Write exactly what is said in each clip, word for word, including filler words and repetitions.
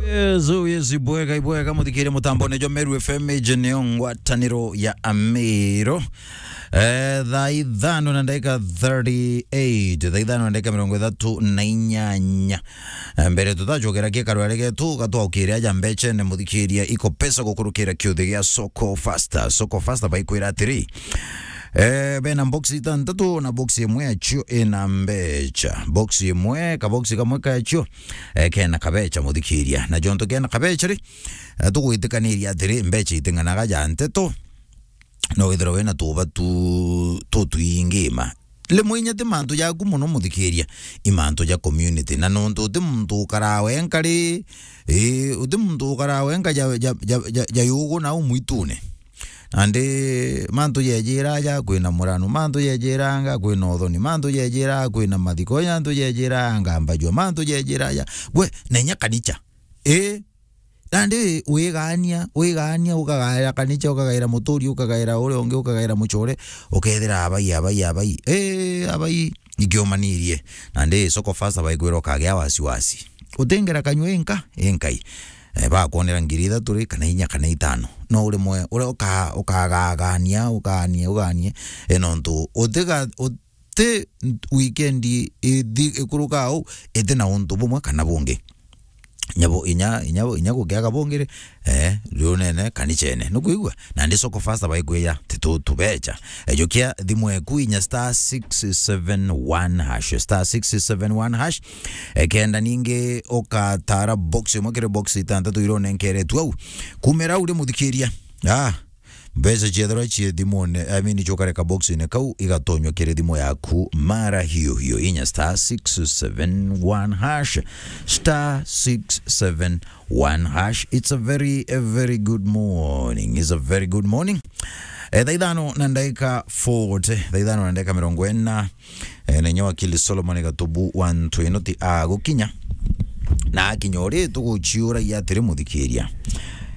Yes, oh yes, ibwega, ibwega, muthikiria mutambone jwa Meru F M, iji niyo ngwataniro ya Amiru. Eh, thaa ithano na ndagika thirty-eight, thaa ithano na ndagika mirongo ithatu na inyanya. Eh, mbere tutacokera kikarware getu, gatwaukire aja mbechene, muthikiria, iko pesa gukurukira kiuthi gia Soko Faster. Soko Faster baikwira atiri, eh, bena box itantatu na box imwe yacio ina mbecha. Box imwe, ka box kamwe kacio, eh, kena kabecha, muthikiria. Na jonto kena kabecha ri, eh, tugwitikaniria atiri, mbecha iting'anaga ja nteto, no withirwa wina tuuba tu-, tutwingi ma. Rimwe inya ti mantu jaku mono, muthikiria, i mantu ja community. Na nontu uti muntu ukaraa wenka ri, ii, uti muntu ukaraa wenka ja, ja, ja, ja, ja yugu na u mwitune. Nandi mantu jejira aja kwina muranu, mantu jejiranga kwina uthoni, mantu jejira kwina mathiko, mantu jejira ngambajua, mantu jejira aja. Gwe, na inya kanicha. Ii, nandi wigania, wigania, ukagaira kanicha, ukagaira muturi, ukagaira uria ungi, ukagaira mucore, ukethira abai, abai, abai. Ii, abai, ikiumanirie. Nandi Soko Faster baikwira ukagia wasiwasi. Utingera kanyua inka, inkai. Eh, bakwonera ngiri ithatu ri, kana inya, kana itano. No uri mwe, uria uka-, ukagagania, uganie, uganie. Eh, nontu utiga-, uti weekend ithi-, ikuruka au, iti na untu bumwe kana bungi. Nyabo, inya, inya, inya gukiaga bungi ri, eh, riu nene kanichene. Nukwigua? Nandi Soko Faster baikwija, ti tu-, tubecha. Ejukia thimu eku inya star six seven one hash, star six seven one hash. Ekenda ningi ukatara box imwe kiri box itantatu iria unenkeretwe au. Kumira au ri muthikiria. Ah, mbeca ciethirwa cie thimune, I mean, ciukareka box-ine kau, igatonywa kiri thimu yaku mara hiyo hiyo. Inya star six seven one hash, star six seven one hash. It's a very, a very good morning. It's a very good morning. Eh, thaa ithano na ndagika forty, thaa ithano na ndagika mirongo ina, eh, na inya wakili Solomon Gatubu wa Ntwino ti agukinya. Na akinya uri tuguciuragia atiri muthikiria.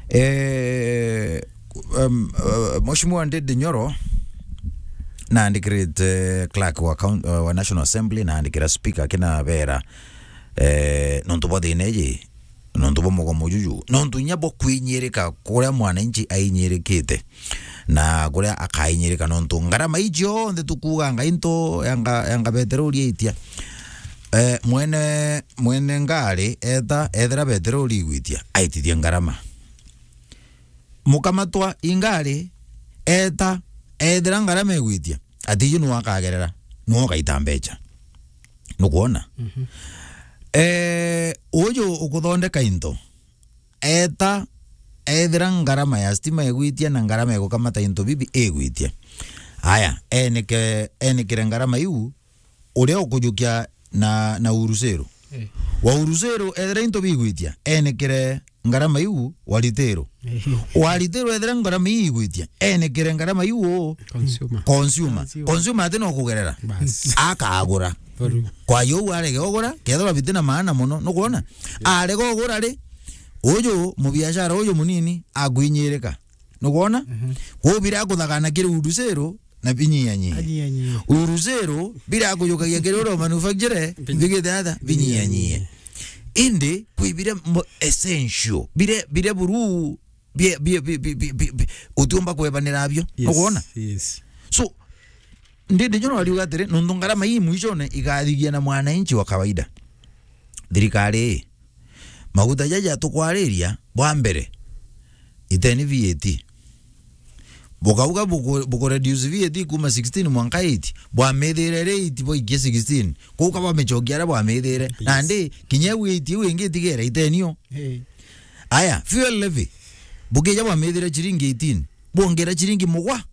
Eh, um, uh, Mheshimiwa Ndindi Nyoro naandikirite clerk wa coun-, uh, wa National Assembly, naandikira speaker akinabera, eh, nontu bwa thina iji, nontu bwa mugomo juju, nontu inya bwa kwinyirika kuria mwananchi ainyirikite, na kuria akainyirika, nontu ngarama iji cionthe tukuuga ngai nto yanga, yanga beteroli aitia. Eh, mwene, mwene ngari eta, ethira beteroli igwitia, aitithie ngarama. Mukamatwa ingari, eta, ethira ngarama igwitia, atiji nu akagerera, nu ukaita mbecha. Nukwona? Mhm. Eh, uju ukuthondeka into, eta, ethira ngarama ya stima igwitia na ngarama ya gukamata into bibi igwitia. Aya, enike-, enikire ngarama iu, uria ukujukia na, na Urusero. Eh. Wa Urusero, ethira into bigwitia, enikire ngarama iu wa Ritero. Eh. Wa Ritero, ethira ngarama iu igwitia, enikire ngarama iu u Consumer. Consumer. Consumer. Consumer ati no kugerera. Bas. Akagura. Buru. Kwa hiyo u arege ugura, kethirwa biti na maana mono, nukwona? Arega ugura ri, uju mubiashara uju munini akwinyirika. Nukwona? Mhm. Kwou bira kuthagana kiri Urusero, na binyianyie. Anyianyie. Urusero, bira kujukagia kiri uro manufacture, Bin-, bigite atha, binyianyie. Binyianyie. Indi, kwi bire mo-, essential, bire, bire buru, bie, bie, bie, utiumba kwebanira abio. Yes, nukwona? Yes. So, Ndindi Nyoro ariuga atiri, nontu ngarama ii mwishone igathigia na mwananchi wa kawaida. Thirikari ii, maguta jaja tukwariria, bwa mbere, iteni V A T. Bukauga buku-, buku reduce V A T kuma sixteen mwanka eight, bwamithire ri eight bwaikie sixteen. Kuu ka bwamechokia aria bwamithire. Yes. Nandi, kinya iu eight iu ingi itigere itenio. Hey. Aya, fuel levy. Bukija bwamithire chiringi eighteen. Bwongera chiringi mugwa.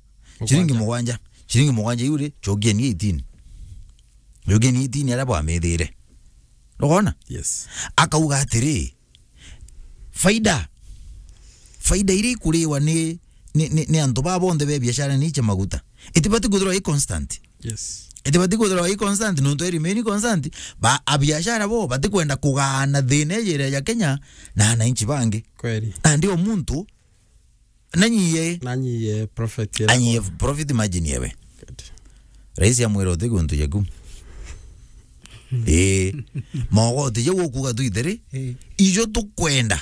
Chiringi mugwanja. Chiringi mugwanja iu ri, chokieni eighteen. Chokieni eighteen aria bwamithire. Nukwona? Yes. Akauga atiri, faida, faida iria ikuriwa ni, ni, ni, ni antu baa bonthe be biashara ni cia maguta, itibati kwithirwa i constant. Yes. Itibati kwithirwa i constant, nontu i remain constant, ba, abiashara bo batikwenda kugaana thina iji iria ja Kenya na ananchi bangi. Kweli. Nandi o muntu, na nyie. Na nyie profit ira. Anyie profit margin yewe. Good. Rais amwira uti guntu jaku. Ii. Mogoti jau ukuuga twithiri, Ii. ijo tukwenda.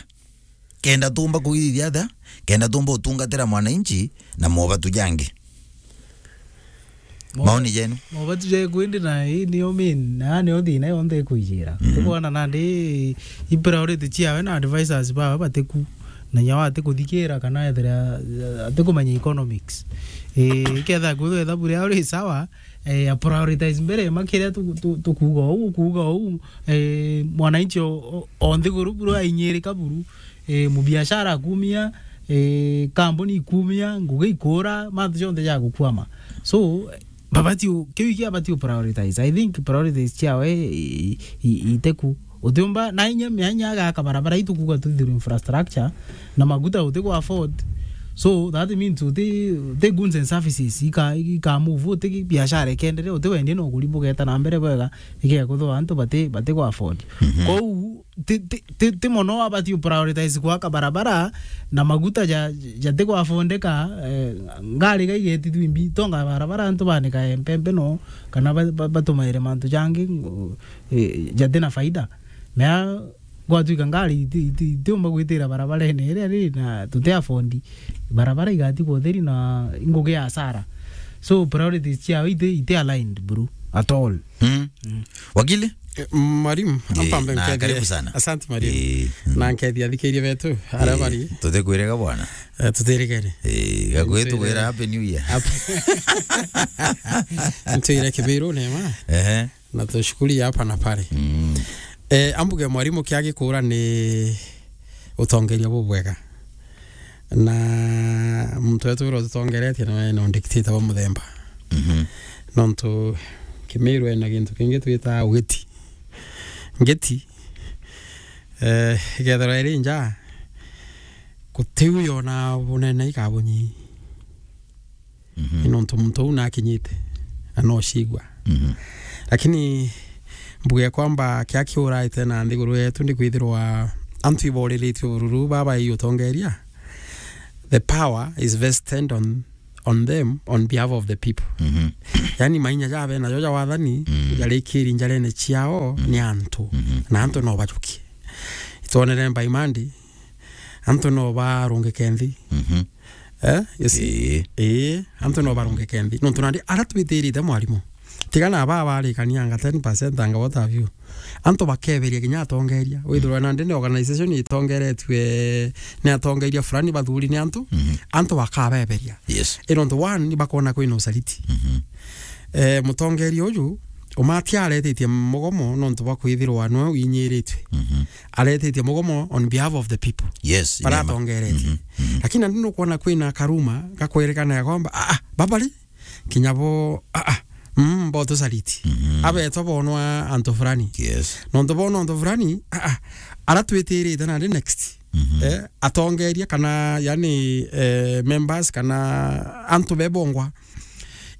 Kenda tumba kuithithia atia? Kenda tumba utungatira mwananchi na mobatu jangi. Mo- Maoni jenu? Mobatu ja kwindi na ii nio main, na nio thina yonthe ikwijira. Mhm. Tukwana nandi i priority ciawe na advisors bawe batiku. Na nyawe atikuthikira kana ethira, eh, atikumenya economics. Eh, iketha kwithwa ithabu riao ri sawa, eh, a prioritize mbere, ma kiria tu-, tu-, tukuuga uu, ukuuga uu, eh, mwananchi o, o, o nthiguru buru ainyirika buru, eh, mubiashara akumia, eh, kambuni ikumia, ngugi ikura, mantu jonthe jagukwama. So, babati u-, kiu iki abati u prioritize. I think priorities ciawe i-, i-, iteku. Utiumba, na inya mianya agaka barabara itu kuuga tu through infrastructure, na maguta uti ku afford. So that means uti, uti goods and services ika, ika move, uti biashara ikendere, uti wendia no kuri bugeta na mbere bwega, ikega kuthwa antu bati, bati ku afford. Mhm. Kou ti, ti, ti, ti mono abati u prioritize gwaka barabara na maguta ja, jati ku affordeka, eh, ngari ga igeti twimbi, tonga barabara antu banika empempe no, kana ba, ba, batumaire mantu jangi, eh, jati na faida. Mea gwatuika ngari iti, iti, itiumba gwitira barabarene iria ri na tuti afford, barabara igatigwa utheri na ingugi ya hasara. So priorities ciao iti, iti aligned, bro, at all. Mm. Mm. Wakili? Eh, mwalimu, eh, ampa mbe na nkethie. Karibu sana. Asante, mwalimu. Eh, mm. Na nkethia athikiria betu, aria bari. Tutikwirega bwana. Eh, tutirigene. Eh, gakuhitugwira Happy New Year. Ap-, ntwire Kimiru neema. Ehe. Na tushukuri hapa na pale. Mm. Eh, ambuge mwalimu kia gikura ni utongeria bubwega. Na muntu wetu uria ututongeretie nawe no dictator wa muthemba. Mhm. Nontu Kimiru ena gintu kingi twita ugiti. Ngiti, eh, ikethirwa iri nja, gutiu yona bunene ikabunyi. Mhm. Ni nontu muntu uu nakinyite, na no cigua. Mhm. Lakini mbuge kwamba kia kiuraite na nthiguru yetu ni kwithirwa antu iboriritue bururu baba i utongeria. The power is vested on, on them, on behalf of the people. Mhm. Yani mainya jabe najo ja wathani, mm, jarikiri njarene ciao, mm, ni antu. Mhm. Na antu no bajukie. Itwonere mbaimandi, antu no barungike nthi. Mhm. Eh, you see? Ii. Ii, antu no barungike nthi. Nontu nandi ara twitirite mwarimu. Tiga na baa barikania anga ten percent anga what have you. Antu bakeberia kinya atongeria. Withirwa nandi ni organization itongeretue ni atongeria fulani bathuri ni antu. Mhm. Antu bakabeberia. Yes. I nontu one ni bakona kwina usaliti. Mhm. Eh, mutongeria uju, umati aretitie mugomo nontu bwa kwithirwa nwe winyiritwe. Mhm. Aretitie mugomo on behalf of the people. Yes, baria atongeretie. Mhm, mhm. Lakini nandi nukwona kwina karuma gakwerekana ya kwamba, ah, ah, babari, kinya bo, ah, ah, mm, bo tusaliti. Mhm. Abetwa bonwa antu fulani. Yes. Nontu bonwa antu fulani, ah, ah, ara twitirite nandi next. Mhm. Eh, atongeria kana, yani, eh, members kana antu bebongwa.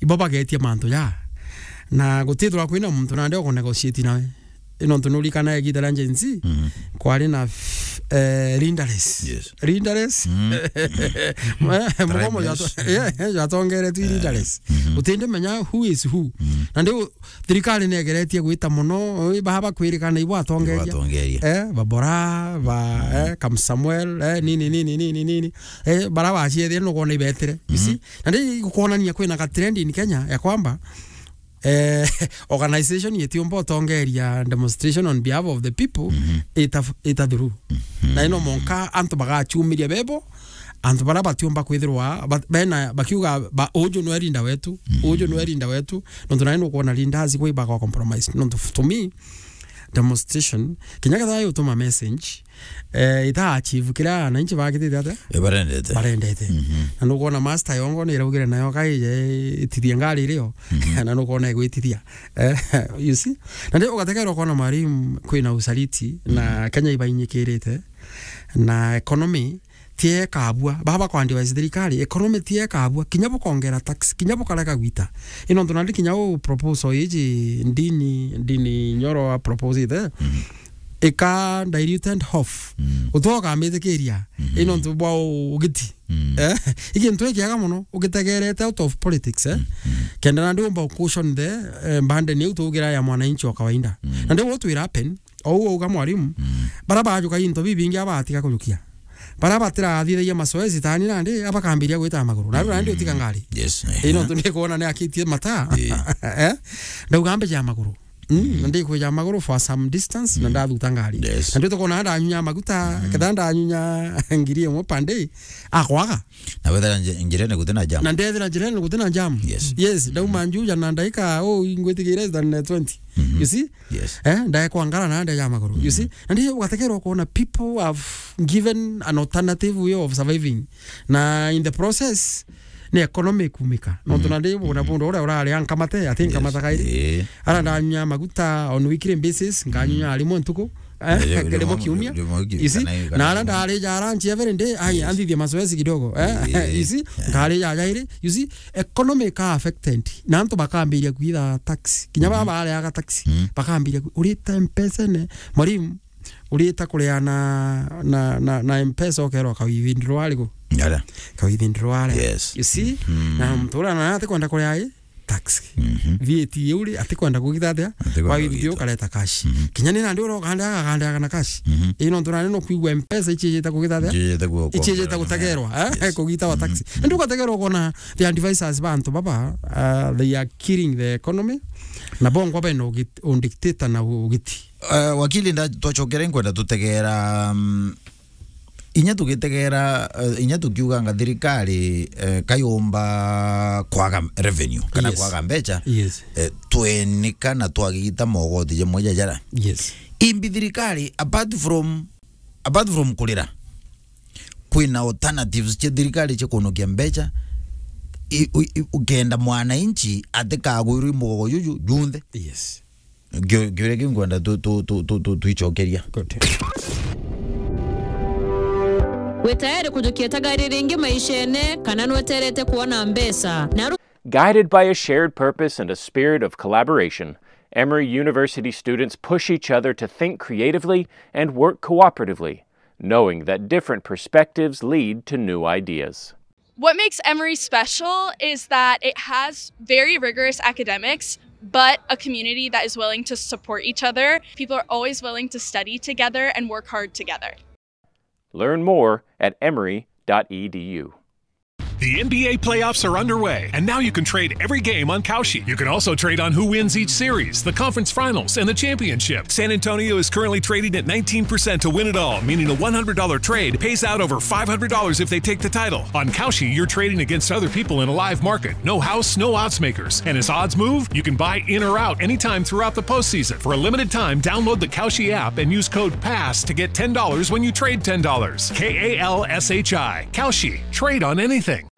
Ibo bagetia mantu ja. Na gutithirwa kwina muntu nandi uku negotiate nawe. Ino ntu nurikana igita ria Gen Z, mhm, kwari na f-, eh, leaderless. Yes. Leaderless. Mm. Eh, mugomo jwa-, eh, jwatongeretwe leaderless. Mhm. Utindi menya who is who. Mhm. Na ndiu thirikari negeretie gwita mono, eh, baa bakwirikana ibo atongeria. Ibo atongeria. Eh, babora, ba, mhm, eh, Kam Samuel, eh, nini, nini, nini, nini. Eh, bara baciethire nugona ibetire. You see? Mhm. Na ndi gukonania kwina ga trend in Kenya ya kwamba, eh, organization yetiumba utongeria demonstration on behalf of the people, mhm, ita, ita through. Mhm. Na ino monka antu bagachumiria bebo, antu bara batiumba kwithirwa, ba-, bena, bakiuga, ba, uju nwe leader wetu, mhm, uju nwe leader wetu, nontu nai nukwona leaders kwi baga compromise. Nontu f-, to me, demonstration, kinya ketha yutuma message, eh, ita achieve kiria ananchi bagitite atia? Eh, barendete. Barendete. Mhm. Na nukwona master yongo ni iraugire nayo kaije itithie ngari irio. Mhm. Na nukwona igwitithia. Eh, you see? Na ndi ugategerera ukwona mwalimu kwina usaliti, na, mhm, Kenya ibainyikirite, na economy tie kabua. Baba kwa advise thirikari, economy tie kabua. Kinya bukongera tax, kinya bukarega gwita. Ino ntu nandi kinya u proposal iji ndini, ndini Nyoro a propose ite. Mhm. ika diluted off. Mm. Utwe ukambitikiria. Mhm. Ino ntu bwa u-, ugiti. Mm. Eh? Ikintu ikiaga muno, ugitegerete out of politics, eh? Mm, mm. Kenda nandi umba cushion the, eh, burden iu tugira ya mwananchi wa kawaida. Mm. Nandi what will happen, ou auga mwarimu, mm, bara bajuka into bibingi abatiga kujukia. Bara batirathithagia mazoezi tani nandi, abakambiria gwita maguru. Na riu nandi, mm, utika ngari. Yes. Ino ntu ndikuona ni akitie mata. Eh. Eh? Ndauga mbe ja maguru. Mm, mm, na ndikwija maguru for some distance, na, mm, ndathuta ngari. Yes. Na ndio tukona ndanyunya maguta, mm, ketha ndanyunya ngiri imwe per day, akwaga. Na wethera nje-, njirene gutina jam. Na ndethira njirene gutina jam. Yes. Yes, ndauma, mm, njuja na ndaika, oh, ingwitikia less than, eh, twenty. Mhm. You see? Yes. Eh, ndaekwa ngara na ndeja maguru. You, mm, see? Na ndio ugatekerwa kuona people have given an alternative way of surviving. Na in the process, ni economy kumika. Nontu, mm, Nandi bunda, mm, bunda uria urari ankamate, ati, yes, nkamata kairi. Eh. Ara ndanyunya maguta on weekly basis, nkanyunya, mm, rimwe ntuku, eh, eh, rimwe, rimwe kiumia. Rimwe kiumia, you see? Kana, kana na ara rimwe. Ndarija lunch every day, ai, yes, anthithie mazoezi kidogo, eh, eh, you see? Eh. Nkarija jairi, you see? Economy ka affected. Na antu bakambiria kwitha tax. Kinya, mhm, baba areaga tax. Mm. Bakambiria kwi-, urita mpesa ne, mwarimu, urita kuria na, na, na, na Mpesa, ukerwa ka withdraw ariku? Yara. Ka withdraw aria. Yes. You see? Mm. Na muntu uria na atikwenda kuria i tax. Mhm. V A T iu ri, atikwenda kugita atia? Atikwenda kugita. Kwa withdraw ukareta cash. Mhm. Kinya ni nandi uria ukandeaga, akandeaga na cash. Mhm. Ino ntu nandi no kwigua Mpesa ichiejete kugita atia? Ichiejete ku-, ichiejete kuongerera gutegerwa, eh? Yes. Kugita wa tax. Mhm. Ndu ugategerwa ukona the advisors ba antu baba, uh, they are killing the economy. Na bongwa bena ugit-, undictator na ugiti. Eh, wakili, nda-, twacokere nkwenda tutegera, mm, inya tugitegera, eh, inya tukiuganga thirikari, eh, kayumba kwaga revenue kana, yes, kwaga mbecha, yes, eh, twenika na twagita mogoti jamwe jajara. Yes. Imbi thirikari, apart from, apart from kurira, kwina alternatives cia thirikari cia kunokia mbecha, i-, u-, i-, ukenda mwananchi atikagwirwe i mugogo juju junthe. Yes. Kio-, kiuria kiu ngwenda tu-, tu-, tu-, tu-, tu-, twicokeria. Good. Wi tayari kujukia tagari ringi maishene, kana nweterete kuona mbeca? Na ru- Guided by a shared purpose and a spirit of collaboration, Emory University students push each other to think creatively and work cooperatively, knowing that different perspectives lead to new ideas. What makes Emory special is that it has very rigorous academics, but a community that is willing to support each other. People are always willing to study together and work hard together. Learn more at emory dot e d u. The N B A playoffs are underway, and now you can trade every game on Kalshi. You can also trade on who wins each series, the conference finals, and the championship. San Antonio is currently trading at nineteen percent to win it all, meaning a one hundred dollar trade pays out over five hundred dollars if they take the title. On Kalshi, you're trading against other people in a live market. No house, no odds makers. And as odds move, you can buy in or out anytime throughout the postseason. For a limited time, download the Kalshi app and use code pass to get ten dollars when you trade ten dollars. K A L S H I. Kalshi. Trade on anything.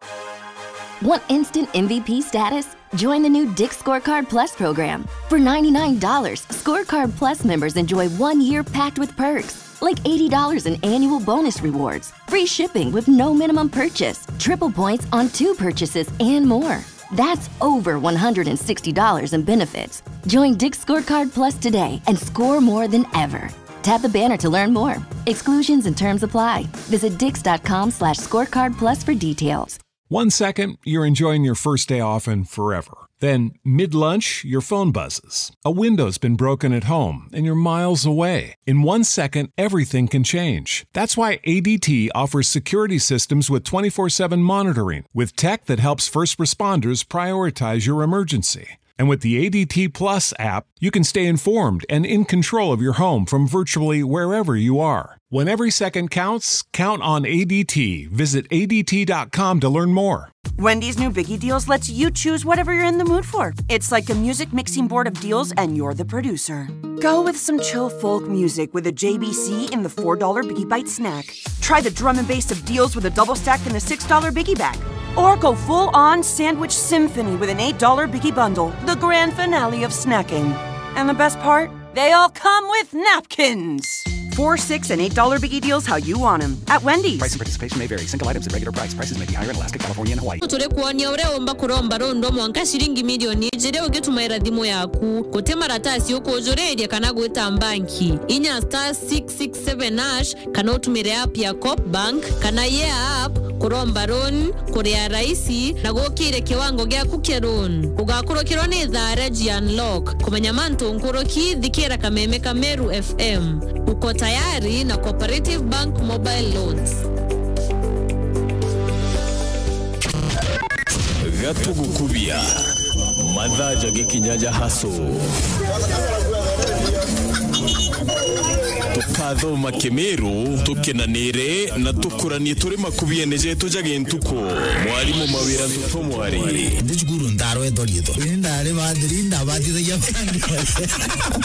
Want instant M V P status? Join the new Dick's Scorecard Plus program. For ninety-nine dollars, Scorecard Plus members enjoy one year packed with perks, like eighty dollars in annual bonus rewards, free shipping with no minimum purchase, triple points on two purchases, and more. That's over one hundred sixty dollars in benefits. Join Dick's Scorecard Plus today and score more than ever. Tap the banner to learn more. Exclusions and terms apply. Visit dicks dot com slash scorecard plus for details. One second, you're enjoying your first day off and forever. Then, mid lunch, your phone buzzes. A window's been broken at home and you're miles away. In one second, everything can change. That's why A D T offers security systems with twenty-four seven monitoring, with tech that helps first responders prioritize your emergency. And with the A D T Plus app, you can stay informed and in control of your home from virtually wherever you are. When every second counts, count on A D T. Visit A D T dot com to learn more. Wendy's new Biggie Deals lets you choose whatever you're in the mood for. It's like a music mixing board of deals, and you're the producer. Go with some chill folk music with a J B C in the four dollar Biggie Bite snack. Try the drum and bass of deals with a double stack and a six dollar Biggie Bag. Or go full on sandwich symphony with an eight dollar Biggie Bundle, the grand finale of snacking. And the best part? They all come with napkins! Four, six, and eight dollar biggie deals how you want 'em. At Wendy's. Price and participation may vary. Single items at regular price. Prices may be higher in Alaska, California, and Hawaii. Turi kwonia uria umba kuromba rundi mwanka ciringi milioni ijiri ugitumaira thimu yaku. Guti maratasi ukujuriria kana gwita mbanki. Inya star six six seven hash kana utumire app ya Coop Bank kana Yeah app kuromba loan, kuria raisi na gukire kiwango giaku kia loan. Ugakurukirwa ni thaa ria G Unlock. Kumenya mantu nkuruki, thikira kameme ka Meru F M. Uko tayari na Cooperative Bank Mobile Loans. Gatugukubia. Mathaa jagikinya ja hustle. Tukathoma Kimiru, tukenanire na tukuranie turi makubiene jetu ja gintuku. Mwarimu Mawira Ntutu Mwari. Ndi cukuru ndarwetwa riitwa. Ini ndari bathiri, ndabatithagia.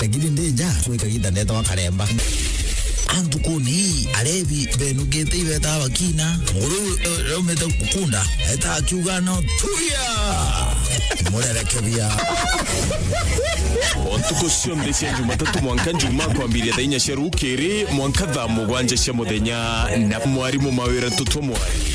Lakini ndi nja, twi kagiita ndeetagwa Karemba. Antukuni, arebi benukite ibeta bakina. Nguru, eh, raumite kunda, eta akiuga no tuya. Murereke bia. O ntuku cionthe cia Jumatatu mwanka Njumaa kwambiria thaa inya cia rukiri mwanka thaa mugwanja cia muthenya na mwarimu Mawira Ntutu Mwari.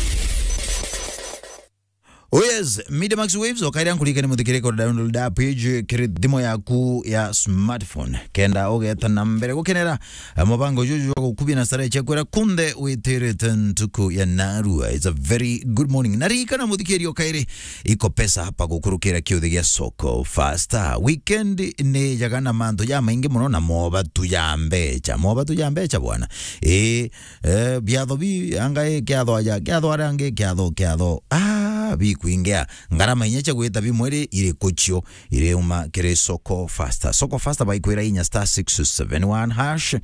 Oh yes, Media Max Waves, ukaira nkurikane muthikiriko download app page kiri thimu yaku ya smartphone. Kenda ugeta na mbere gukenera, eh, mubango juju jwa gukubia na starehe cia kwira kunthe witirite ntuku ya narua. It's a very good morning. Na ririkana muthikiria ukairi iko pesa hapa gukurukira kiuthi gia Soko Fasta. Weekend ni jaga na mantu ja maingi muno na mobatu ja mbecha. Mobatu ja mbecha bwana. Ii, Eh, biatho bi, anga i, kiatho aja, kiatho aria angi, kiatho, kiatho. Ah, bikwingia. Ngarama inya cia gwita bimwe ri, iriku cio, iriuma kiri Soko Fasta. Soko Fasta baikwira inya star six seven one hash.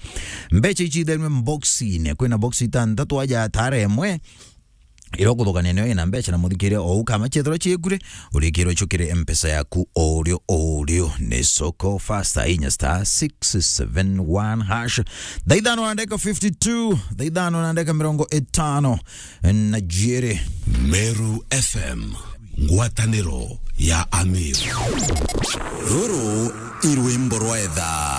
Mbecha ici ithenwe mboxine. Kwina box itantatu aja atara imwe. Ira ukuthukania niyo ina mbecha na muthikiria o ukama ciethirwa ciekure, urikirwe cukire M-Pesa yaku o urio, o urio. Ni Soko Fasta inya star six seven one hash. Thaa ithano na ndagika fifty-two, thaa ithano na ndagika mirongo itano na jiiri. Meru F M, ngwataniro ya Amiru. Ruru i rwimbo rwa etha.